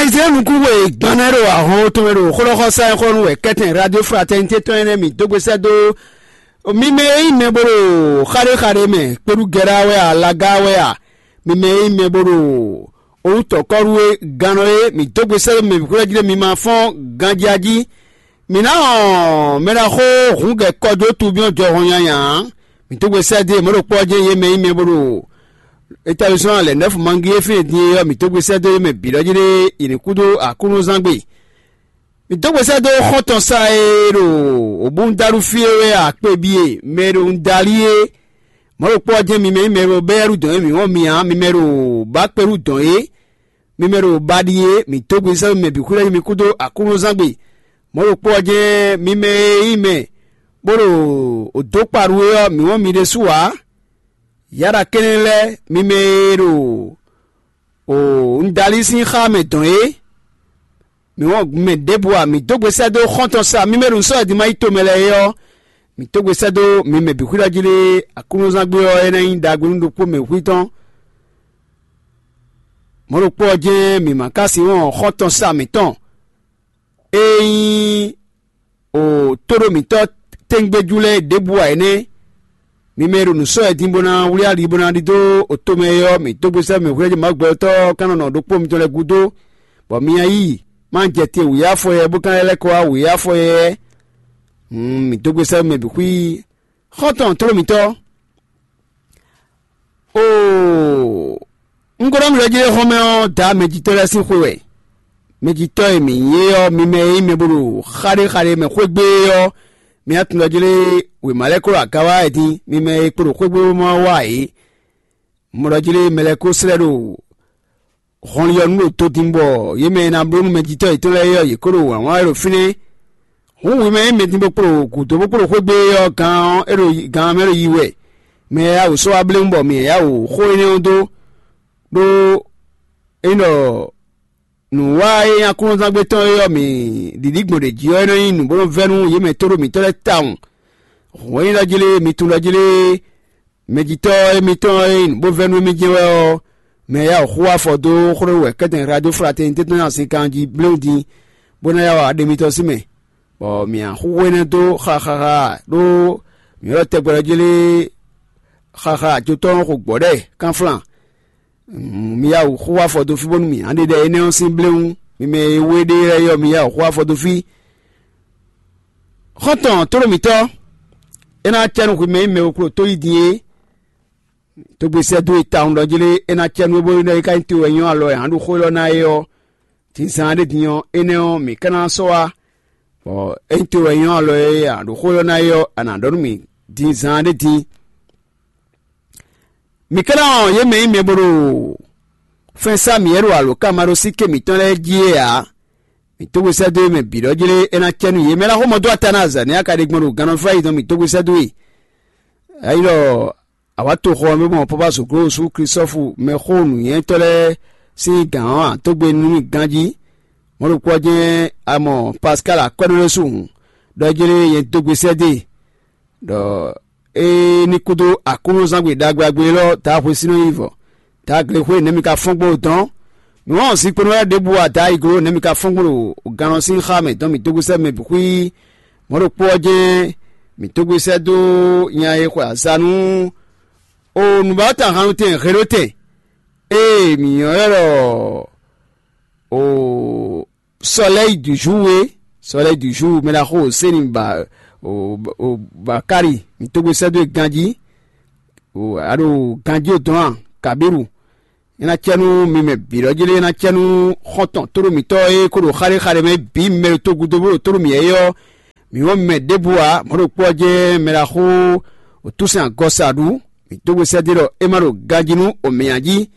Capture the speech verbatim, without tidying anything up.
Izlayɛ́li nukún we gbannɔ e ɖo ahɔn tɔn mɛ ɖo xó ɖɔ xɔ sá nyí xó nú wɛ kɛ́tɛn Radio Fraternité tɔn énɛ́ mǐ dó gbe sɛ́ dó mi mɛ e nyí mɛ bó ɖo xaɖéxaɖé mɛ kpéɖú gɛ́ɖá wɛ a, lagá wɛ a, mi mɛ e nyí mɛ bó ɖo owútɔ́kɔ́ɖu e gannɔ e mǐ dó gbe sɛ́ dó mɛ bǐ xwlɛ́ jí ɖé mi ma fɔ́n ganjí a jí. Mǐ ná wɔn mɛ ɖaxó hǔngɛkɔjó tubíɔ́ jɔhɔn nyanya ǎ. Mǐ dó gbe sɛ́ dó yě mɔ̌ ɖokpó ɔ́ jɛ́n yě mɛ nyí mɛ bó ɖo établisɔ́ lɛ̌nɛ́fu mangi e fínɛ́ din é ɔ́, mǐ dó gbe sɛ́ dó yě mɛ bǐ ɖɔ jí ɖé yě ní kú dó Aklúnɔzángbe. Mǐ dó gbe sɛ́ dó xɔ́ntɔn sa e ɖo Obúndaɖu fí é wɛ akpe bíe mɛ e ɖo Ndalí é. Mɔ̌ ɖokpó ɔ́ jɛ́n mi mɛ nyí mɛ e ɖo bɛ́yɛ́ɖu dɔn é mǐ wɔn mi ǎ, mi mɛ ɖo bǎkpéɖu dɔn é, mi mɛ ɖo baɖi é, mǐ dó gbe sɛ́ dó mi mɛ bǐ xwíɖɔ jí mi kúdó Aklúnɔzángbe. Mɔ̌ ɖokpó ɔ́ jɛ́n mi mɛ e nyí mɛ bó ɖo dǒ kpa ɖu é ɔ́, mǐ wɔn mi ɖésú ǎ. Yaɖa kɛ́nɛ́ lɛ́ɛ, mi mɛ e ɖo Ndalí sín xá mɛ dɔn é, mǐ wɔn mɛ ɖěbǔ a, mǐ dó gbe sɛ́ dó xɔ́ntɔn sa mi mɛ ɖo sɔ́ e din ma yí tomɛ lɛ́ɛ é ɔ́, mǐ dó gbe sɛ́ dó mi mɛ bǐ xwíɖɔ jí lé Aklúnɔzángbe ɔ́, é ná nyí ɖagbe nú ɖokpó mɛ xwí tɔn. Mɔ̌ ɖokpó ɔ́ jɛ́n mǐ ma ka sin wɔn xɔ́ntɔn sa mǐtɔn e nyí o tóɖó mǐtɔn tɛ́ngbéjú lɛ́ɛ ɖěbǔ ǎ é nɛ́. Mi mɛ e ɖo nǔ sɔ́ wɛ din bó ná wlí ali bó ná ɖidó oto mɛ é ɔ́, mǐ dó gbe sɛ́ mǐ hwlɛ́ jí Mawu gbɛtɔ́ ɔ́ ká nɔ nɔ ɖokpó mitɔn lɛ́ɛ gúdo, bɔ mi nya yí ma jɛ te wǔyá afɔ yɛ bó ka lɛ́ kɔ wá wǔyá afɔ yɛ. Hǔn mǐ dó gbe sɛ́ mɛ bǐ xwí xɔ́ntɔn tló mǐtɔn. Oo, un ko ɖɔ mì ɖɔ jí xɔ́mɛ ɔ́, dǎ mɛjitɔ́ lɛ́ɛ sín xwe wɛ. Mɛjitɔ́ e mǐ nyí é ɔ́, mi mɛ e nyí mɛ bó ɖo xaɖéxaɖé mɛ xwé gbé é ɔ́, mi ná tunwun ɖɔ jí lé wěma lɛ́ɛ kó ɖo aga wá wɛ din, mi mɛ e kpo ɖo xwé gbé bó ma wá ǎ é. Un mɔ ɖɔ jí lé mɛ lɛ́ɛ kó slɛ́ ɖo hɔnlin ɔ́ nu ɖo todin bɔ yě mɛ e ná bló nú mɛjitɔ́ yětɔn lɛ́ɛ é ɔ́, yě kó ɖo wǎn wá wɛ ɖo fínɛ́. Hǔn hwi mɛ e nyí mɛdin bó kpo ɖo gǔdo bó kpo ɖo xwé gbé é ɔ́, gan ɔ́, é ɖo gan ɔ́ mɛ ɖo yi wɛ. Mɛ e yá wǔ sɔ́ wá blé wú bɔ mǐ yá wǔ xó énɛ́ ɔ́ dó, ɖó é nyí ɖɔ nǔ wa e nyí Aklúnɔzángbe tɔn é ɔ́, mǐ ɖiɖí gbɔn ɖě jí ɔ́, é nɔ nyí nǔ bó nɔ vɛ́ nú yě mɛ tóɖó mǐtɔn lɛ́ɛ tawun. Hǔn é nyí ɖɔ jí lé, mi tunwun ɖɔ jí lé, mɛjitɔ́ émítɔn e nyí nǔ bó vɛ́ nú émí jɛ́n wɛ ɔ́, mɛ e yá wǔ xú afɔ dó xó ɖé wɛ kɛ́tɛn Radio Fraternité tɔn nyi azinkan jí bléwún din, bó ná yá wa ɖe mitɔn sín mɛ, bɔ mǐ ná xúxú énɛ́ dó xaxaxa ɖó mǐ ylɔ́ tɛgbɛ ɔ́ jí lé xaxa ajotɔ́ ɔ́ xo gbɔ̌ ɖɛ kánflán. Mi yá wǔ xú afɔ dó fí bónú mǐ ná ɖe ɖɛ énɛ́ ɔ́ sín bléwún. Mi mɛ e wé ɖe lɛ́ɛ ɔ́, mi yá wǔ xú afɔ dó fí. Xɔ́ntɔn tlóló mǐtɔn, é ná cɛ nú hwi mɛ e nyí mɛ e klo tó yí din é. Tógbe sɛ́ dó e tawun ɖɔ jí lé, é ná cɛ nú é bónú é ka nyí to wɛ nyɔ́ alɔ e ǎ ɖo xó élɔ́ ná é ɔ́, din zaan ɖé din ɔ́, énɛ́ ɔ́, mǐ ka ná sɔ́ wá, bɔ ényí to wɛ nyɔ́ alɔ e ǎ ɖo xó élɔ́ ná é ɔ́, a nǎ ɖɔ nú mì din zaan ɖé din. Mǐ ka ná wɔn yě mɛ nyí mɛ bó ɖo fɛ́n sá mǐ é ɖo alǒkanmaɖósíké mǐtɔn lɛ́ɛ jí é ǎ. Mǐ tógbe sɛ́ dó yě mɛ bǐ ɖɔ jí lé, é ná cɛ nú yě mɛ ná xó mɔ dó ata ná azǎn nú a ka ɖe gbɔn ɖo gannɔfá yětɔn mǐ tógbe sɛ́ dó e. Ényí ɖɔ a wǎ toxo ɔ́ mɛ gbɔn Pɔ́pá Zǒglówosú Klísɔ́fu mɛxó nǔnywɛ́tɔ́ lɛ́ɛ sín gǎn ɔ́, a dó gbe nú mì ganjí. Mɔ̌ ɖokpó ɔ́ jɛ́n a mɔ Paskáli Akwɛ́núlósu hǔn, ɖɔ jí lé nyɛ dó gbe sɛ́ dó e, ɖɔ é ní kúdó Aklúnɔzángbe ɖagbe élɔ́ ta hwesínɔ yi vɔ, ta glexwé nɛ̌ mi ka fɔ́n gbɔn dɔn? Mi wɔn zinkpo lɛ́ɛ ɖěbǔ ada yi glo nɛ̌ mi ka fɔ́n gbɔn ɖo gannɔ sín xá mɛ dɔn mi dó gosɛ́ mɛ bǐ xwí. Mɔ̌ ɖokpó ɔ́ jɛ́n mǐ dó gosɛ́ dó nya e xwe aza nú o nǔbáwatɔ́ hannutɛn Helotɛn, ée mǐ nyɔ́ ɛ ɖɔ o Soleil du jour é, Soleil du jour, mɛ ɖaxó Seni ba o, o Bakali, mǐ tógbe sɛ́ dó e ganjí, o a ɖo ganjí o dɔn a, Kabiru. É ná cɛ nú mi mɛ bǐ ɖɔ jí lé, é ná cɛ nú xɔ́ntɔn tóɖó mǐtɔn e kó ɖo xaɖéxaɖé mɛ bǐ mi mɛ ɖo togudo bó ɖo tóɖó mǐ é ɔ́, mǐ wɔn mi mɛ ɖěbǔ ǎ. Mɔ̌ ɖokpó ɔ́ jɛ́n mɛ ɖaxó o túsɛn agɔsa ɖu, mǐ tógbe sɛ́ dó ɖɔ é má ɖo ganjí nú o mǐ ǎ jí.